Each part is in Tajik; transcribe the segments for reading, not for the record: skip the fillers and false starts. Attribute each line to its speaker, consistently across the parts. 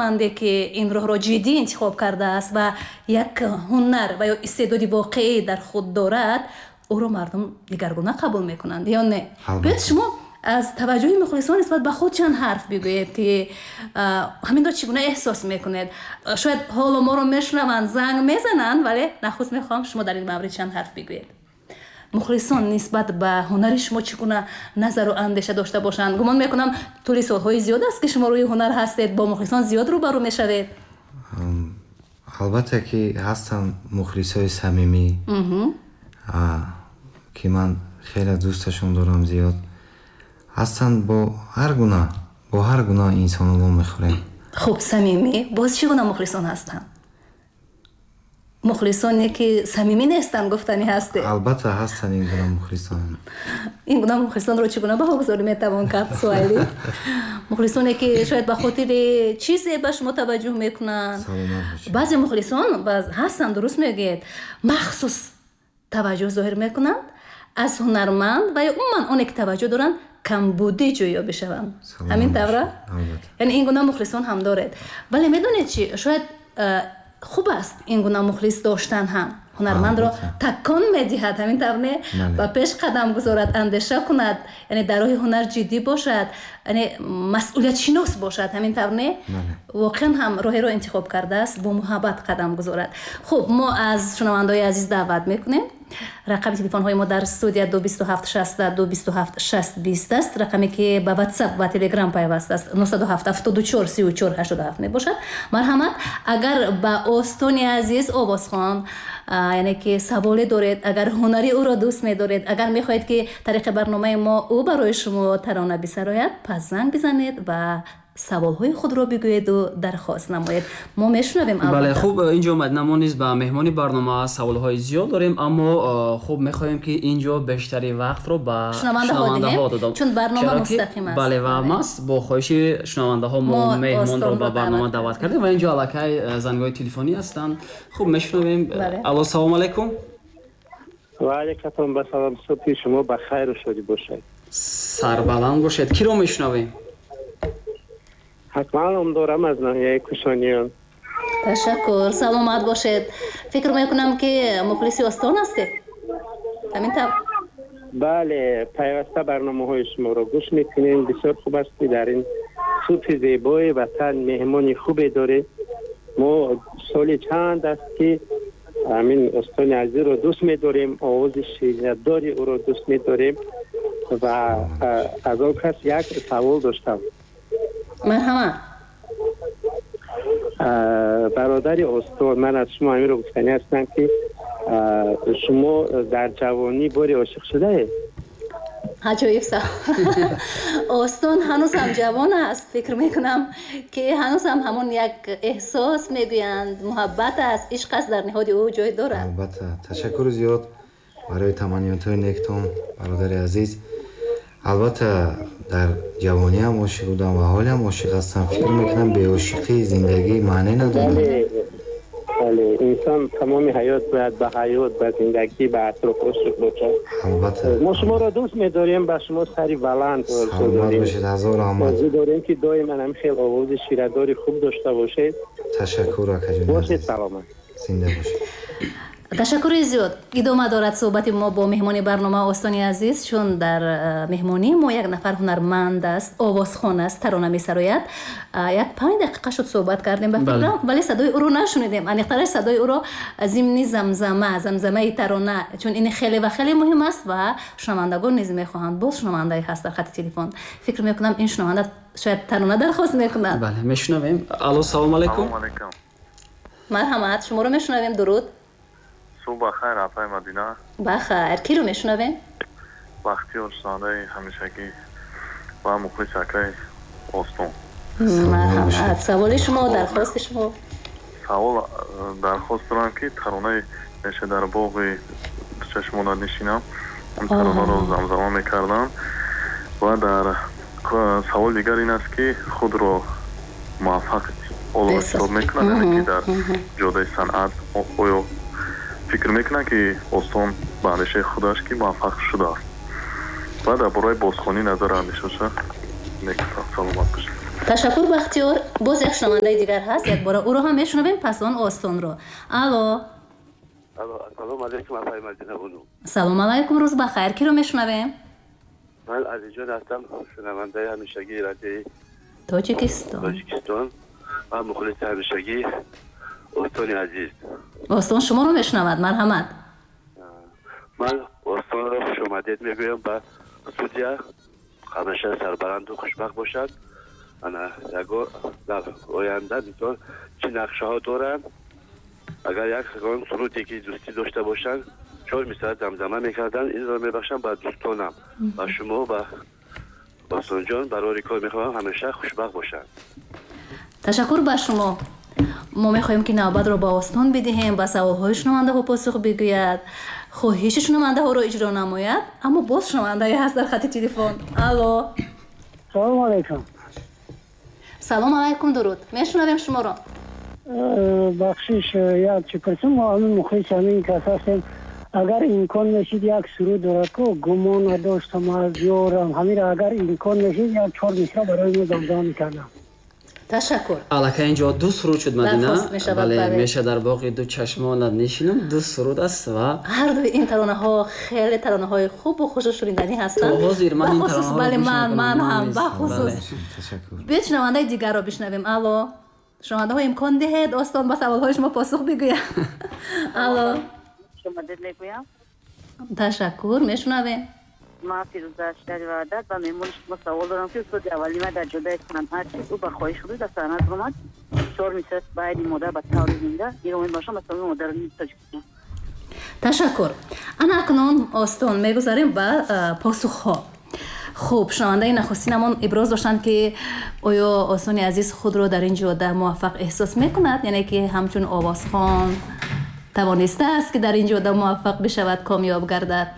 Speaker 1: Ҳунарманде, ки ин роҳро ҷиддӣ интихоб кардааст ва як ҳунар ва ё истеъдоди воқеӣ дар худ дорад, ӯро мардум дигаргуна қабул мекунанд ё не? Биёед, шумо аз таваҷҷӯҳи мухлисон нисбат ба худ чанд ҳарф бигӯед, ки ҳаминро чӣ гуна эҳсос мекунед. Шояд ҳоло моро мешунаванд, занг мезананд, вале нахуст мехоҳам, шумо дар ин маврид чанд ҳарф бигӯед. Мухлисон нисбат ба ҳунари шумо чӣ гуна назару андеша дошта бошанд? Гумон мекунам, тӯли солҳои зиёд аст, ки шумо рӯи ҳунар ҳастед, бо мухлисон зиёд рӯбарӯ мешавед.
Speaker 2: Албатта, ки ҳастанд мухлисои самимӣ, ки ман хеле дӯсташон дорам, зиёд ҳастанд. Бо ҳар гуна инсоно мо мехӯрем.
Speaker 1: Хуб, самимӣ. Боз чӣ гуна мухлисон ҳастанд? Мухлисоне, ки самимӣ нестанд, гуфтанӣ ҳастед?
Speaker 2: Албатта, ҳастанд ин гуна мухлисон.
Speaker 1: Ин гуна мухлисонро чӣ гуна баҳогузорӣ метавон кард, Суҳайлӣ? Мухлисоне, ки шояд ба хотири чизе ба шумо таваҷҷӯҳ мекунанд. Баъзе мухлисон ҳастанд, дуруст мегӯед, махсус таваҷҷӯҳ зоҳир мекунанд аз ҳунарманд ва ё умуман оне, ки таваҷҷӯҳ доранд, камбудӣ ҷӯё бишаванд. Ҳамин тавра? Яъне ин гуна мухлисон ҳам доред. Вале медонед чӣ? Шояд хуб аст ин гуна мухлис доштан ҳам, ҳунармандро такон медиҳад, ҳамин тавр не? Ба пеш қадам гузорад, андеша кунад, яъне дар роҳи ҳунар ҷиддӣ бошад, яъне масъулиятшинос бошад, ҳамин тавр не? Воқеан ҳам роҳеро интихоб кардааст, бо муҳаббат қадам гузорад. Хуб, мо аз шунавандаои азиз даъват мекунем. Рақами телефонҳои мо дар студия 227 60 227 60 20 аст. Рақаме, ки ба Ватсап ва Телеграм пайваст аст, 907 74 34 87 мебошад. Марҳамат, агар ба Остони азиз, овозхон, яъне ки саволе доред, агар ҳунари ӯро дӯст медоред, агар мехоҳед, ки тариқи барномаи мо ӯ барои шумо тарона бисарояд, пас занг бизанед ва саволҳои худро бигӯеду дархост намоед. Мо мешунавем.
Speaker 3: Бале, хуб, инҷо, Мадина, мо низ ба меҳмони барнома саволҳои зиёд дорем, аммо хуб, мехоҳем, ки инҷо бештари вақтро ба
Speaker 1: шунавандаҳо додам, чун барнома мустақим аст.
Speaker 3: Бале, ва маҳз бо хоҳиши шунавандаҳо мо меҳмонро ба барнома даъват кардем ва инҷо аллакай зангҳои телефонӣ ҳастанд. Хуб, мешунавем. Алло, салому алайкум.
Speaker 4: Ва алайкум ассалом. Субҳи шумо ба хайру шодӣ бошад.
Speaker 3: Сарбаланд бошед. Киро мешунавем?
Speaker 4: Ҳатман, ном дорам аз ноҳияи Кушониён.
Speaker 1: Ташаккур, саломат бошед. Фикр мекунам, ки мухлиси Остон ҳастед, ҳамин тавр?
Speaker 4: Бале, пайваста барномаҳои шуморо гӯш мекунем. Бисёр хуб аст, ки дар ин субҳи зебои ватан меҳмони хубе доред. Мо соли чанд аст, ки ҳамин Остони азизро дӯст медорем, овози ширинадори ӯро дӯст медорем ва аз он кас як савол доштам.
Speaker 1: Марҳамат.
Speaker 4: Бародари Остон, ман аз шумо ҳаминро гуфтанӣ ҳастам, ки шумо дар ҷавонӣ боре ошиқ шудаед?
Speaker 1: Аҷоиб савол. Остон ҳанӯзам ҷавон аст. Фикр мекунам, ки ҳанӯзам ҳамон як эҳсос, мегӯянд, муҳаббат аст, ишқ аст, дар ниҳоди ӯ ҷой дорад.
Speaker 2: Албатта, ташаккури зиёд барои таманниётҳои нектон, бародари азиз. Албатта, дар ҷавониам ошиқ будам ва ҳолиам ошиқ ҳастам. Фикр мекунам, беошиқӣ зиндагӣ маъне надорад.
Speaker 4: Бале, инсон тамоми ҳаёт бояд ба ҳаёт, ба зиндагӣ, ба атроф ошиқ бошад.
Speaker 2: Албатта.
Speaker 4: Мо шуморо дӯст медорем, ба шумо сари баланд
Speaker 2: Саломат бошед, ҳазор раҳмат.
Speaker 4: Орзу дорем, ки доим ҳамин хел овози ширадори хуб дошта бошед.
Speaker 2: Ташаккур, акаҷони.
Speaker 4: Бошед саломат.
Speaker 2: Зинда бошед.
Speaker 1: Ташаккури зиёд. Идома дорад суҳбати мо бо меҳмони барнома, Остони азиз, чун дар меҳмонии мо як нафар ҳунарманд аст, овозхон аст, тарона месарояд. Як 5 дақиқа шуд, суҳбат кардем, ба фикрам, вале садои ӯро нашунидем, аниқтараш садои ӯро зимни замзамаи тарона, чун ин хеле ва хеле муҳим аст ва шунавандагон низ мехоҳанд. Боз шунавандае ҳаст дар хати телефон. Фикр мекунам, ин шунаванда шояд тарона дархост мекунад.
Speaker 3: Бале, мешунавем. Алло, салому алайкум.
Speaker 1: Марҳамат, шуморо мешунавем. Дуруд.
Speaker 5: Субҳ бахайр, апаи Мадина.
Speaker 1: Бахайр. Киро мешунавем?
Speaker 5: Бахтиёр, шунавандаи ҳамешагӣ ва мухлиси акаи Остон.
Speaker 1: Марҳамат, саволи шумо, дархости шумо.
Speaker 5: Савол, дархост дорам, ки таронаи «Меша дар боғи чашмона нишинам», он таронаро замзама мекардам. Ва дар саволи дигар ин аст, ки худро муваффақ ҳоло ҳисоб мекунад, яъне ки дар ҷодаи санъат оё фикр мекунад, ки Остон ба андешаи худаш ки муваффақ шудааст? Ва дар бораи бозхонӣ назару андешаша мегуфтам. Саломат бошед.
Speaker 1: Ташаккур, Бахтиёр. Боз як шунавандаи дигар ҳаст, якбора ӯро ҳам мешунавем, пас он Остонро. Алло.
Speaker 6: Алло, ассалому алайкум, апаи Мадина бону.
Speaker 1: Салом алайкум, рӯз бахайр. Киро мешунавем?
Speaker 6: Ман Азизҷон ҳастам, шунавандаи ҳамешагии радиои
Speaker 1: Тоҷикистон.
Speaker 6: Тоҷикистон ва мухлиси ҳамешагии Остони азиз.
Speaker 1: Остон шуморо мешунавад, марҳамат.
Speaker 6: Ман Остонро хушомадед мегӯям ба студия. Ҳамеша сарбаланду хушбахт бошад. Ана ягон дар оянда мисол чӣ нақшаҳо доранд? Агар ягон суруде ки дӯстӣ дошта бошанд, чор мисраъ замзама мекарданд, инро мебахшам ба дӯстонам, ба шумо, ба Осонҷон. Барори кор мехоҳам, ҳамеша хушбахт бошанд.
Speaker 1: Ташаккур ба шумо. Мо мехоҳем ки навбатро ба Остон бидиҳем, ба саволҳои шунавандаҳо посух бигӯяд, хоҳиши шунавандаҳоро иҷро намояд, аммо боз шунавандае ҳаст дар хати телефон. Алло.
Speaker 7: Салому алайкум.
Speaker 1: Салом алайкум, дуруд. Мешунавем шуморо.
Speaker 7: Бахшиш, як чӣ пурсам, мо ҳамин мухлиси ҳамин кас ҳастем. Агар имкон мешид, як суруд дорад ку, гумон надоштам аз ёрам, ҳаминро агар имкон мешид, як чор мисра барои мо замзама мекардам.
Speaker 1: Ташаккур.
Speaker 3: Аллакай инҷо ду суруд шуд, Мадина.
Speaker 1: Дархост мешавад,
Speaker 3: бале,
Speaker 1: бале.
Speaker 3: Меша дар боғи ду чашмонат нишинам, ду суруд аст ва
Speaker 1: ҳар дуи ин таронаҳо хеле таронаҳои хубу хушу шуниданӣ ҳастанд.
Speaker 3: То ҳозир ман ин
Speaker 1: Бахусус,
Speaker 3: таронаҳоро
Speaker 1: бале,
Speaker 3: гӯш
Speaker 1: ман
Speaker 3: мекунам.
Speaker 1: ман
Speaker 3: Ман
Speaker 1: ҳам
Speaker 3: низ.
Speaker 1: бахусус.
Speaker 3: Бале.
Speaker 2: Ташаккур.
Speaker 1: Биёед шунавандаи дигарро бишнавем. Алло. Шунавандаҳо, имкон диҳед Остон ба саволҳои шумо посух бигӯяд. Алло.
Speaker 8: Шумодед мегӯям.
Speaker 1: Ташаккур, мешунавем.
Speaker 8: Ман Фирӯза аз шаҳри Ваҳдат ба меҳмони шумо савол дорам, ки устоди аввали ман дар ҷодаи санъат шуд, ӯ ба хоҳиши худ дар санъат омад. Чор мисраъ байни модар ба таври зинда инро мебахшам ба тамоми модарони Тоҷикистон.
Speaker 1: Ташаккур. Ана акнун, Остон, мегузарем ба посухҳо. Хуб, шунавандаи нахустинамон иброз доштанд, ки оё Остони азиз худро дар ин ҷода муваффақ эҳсос мекунад, яъне ки ҳамчун овозхон тавонистааст, ки дар ин ҷода муваффақ бишавад, комёб гардад?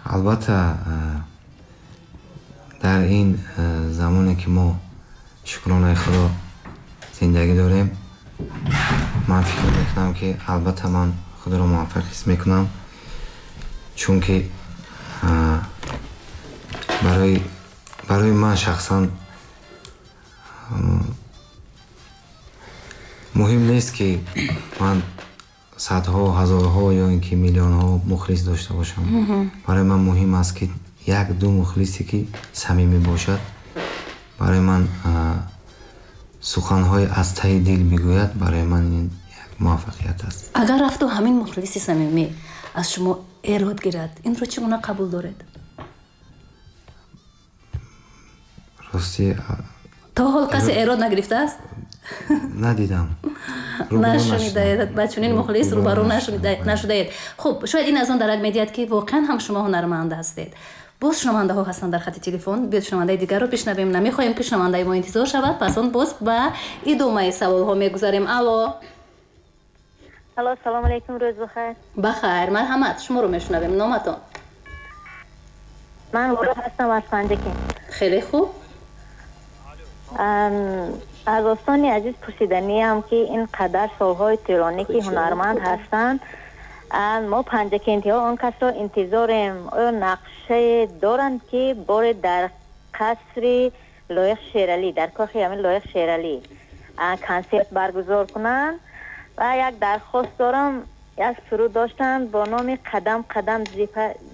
Speaker 2: Албатта, дар ин замоне ки мо, шукронаи Худо, зиндагӣ дорем, ман фикр мекунам, ки албатта ман худро муваффақ ҳис мекунам, чунки барои ман шахсан муҳим нест, ки ман садҳо, ҳазорҳо ё ин ки миллионҳо мухлис дошта бошам. Барои ман муҳим аст, ки як ду мухлисе, ки самимӣ бошад, барои ман суханҳои аз таҳи дил бигӯяд, барои ман ин як муваффақият аст.
Speaker 1: Агар рафту ҳамин мухлиси самимӣ аз шумо эрод гирад, инро чӣ гуна қабул доред?
Speaker 2: Рости,
Speaker 1: То ҳол касе эрод нагирифтааст?
Speaker 2: Надидам. Рӯбарӯ
Speaker 1: Нашунидаед,
Speaker 2: нашудам.
Speaker 1: ба чунин мухлис рӯбарӯ
Speaker 2: Рӯбарӯ нашудам.
Speaker 1: Нашудаед. Хуб, шояд ин аз он дарак медиҳад, ки воқеан ҳам шумо ҳунарманд ҳастед. Боз шунавандаҳо ҳастанд дар хати телефон. Биёед шунавандаи дигарро бишнавем. Намехоҳем, ки шунавандаи мо интизор шавад, пас он боз ба идомаи саволҳо мегузарем. Алло.
Speaker 9: Алло, салом алейкум, рӯз бахайр.
Speaker 1: Бахайр, марҳамат, шуморо мешунавем. Номатон?
Speaker 9: Ман Лола ҳастам аз Панҷакент.
Speaker 1: Хеле хуб.
Speaker 9: Аз Остони азиз пурсиданиам, ки ин қадар солҳои тӯлонӣ ки ҳунарманд ҳастанд, мо панҷакентиҳо он касро интизорем. Оё нақшае доранд, ки боре дар қасри Лоиқ Шералӣ, дар кохи ҳамин Лоиқ Шералӣ консерт баргузор кунанд? Ва як дархост дорам, як суруд доштанд бо номи «Қадам қадам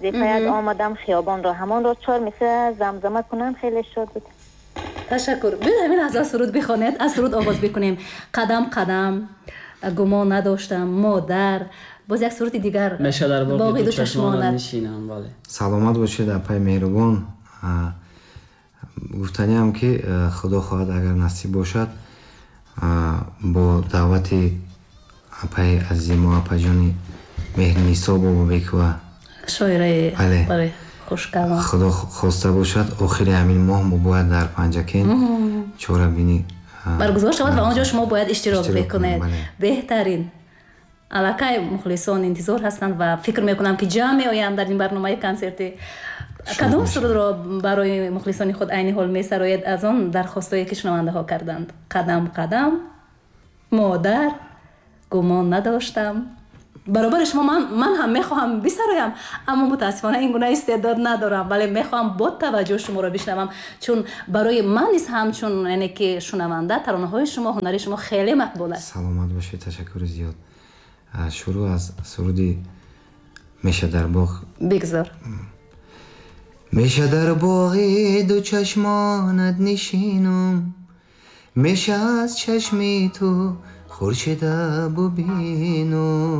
Speaker 9: зипаят омадам хиёбонро», ҳамонро чор мисра замзама кунанд, хеле шод буд.
Speaker 1: Ташаккур. Биёед ҳамин лаҳза суруд бихонед, аз суруд оғоз бикунем. «Қадам қадам», «Гумон надоштам», «Модар», боз як суруди дигар.
Speaker 3: Меша дар боғи
Speaker 1: «Боғи
Speaker 3: ду
Speaker 1: ду
Speaker 3: чашмонат
Speaker 1: чашмонат».
Speaker 3: нишинам, бале.
Speaker 2: Саломат бошед, апаи меҳрубон. Гуфтаниам, ки худо хоҳад, агар насиб бошад, бо даъвати апаи азизи мо, апаҷони Меҳринисо Бобобекова,
Speaker 1: шоираи
Speaker 2: Бале.
Speaker 1: Бале, хушкалом.
Speaker 2: Худо хоста бошад, охири ҳамин моҳ мо бояд дар Панҷакент чорабинӣ
Speaker 1: баргузор шавад ва он ҷо шумо бояд иштирок
Speaker 2: иштирок
Speaker 1: бикунед.
Speaker 2: кунем, бале.
Speaker 1: Беҳтарин. Аллакай мухлисон интизор ҳастанд ва фикр мекунам, ки ҷамъ меоянд дар ин барномаи консертӣ. Кадом сурудро барои мухлисони худ айни ҳол месароед аз он дархостое, ки шунавандаҳо карданд? «Қадам қадам», «Модар», «Гумон надоштам». Баробари шумо ман ҳам мехоҳам бисароям, аммо мутаассифона ин гуна истеъдод надорам, вале мехоҳам бо таваҷҷӯҳ шуморо бишнавам, чун барои ман низ ҳамчун, яъне ки шунаванда, таронаҳои шумо, ҳунари шумо хеле мақбул аст.
Speaker 2: Саломат бошед, ташаккури зиёд. Шурӯъ аз суруди «Меша дар боғ».
Speaker 1: Бигзор.
Speaker 2: Меша дар боғи ду чашмонат нишинум, меша аз чашми ту хуршеда бубинум.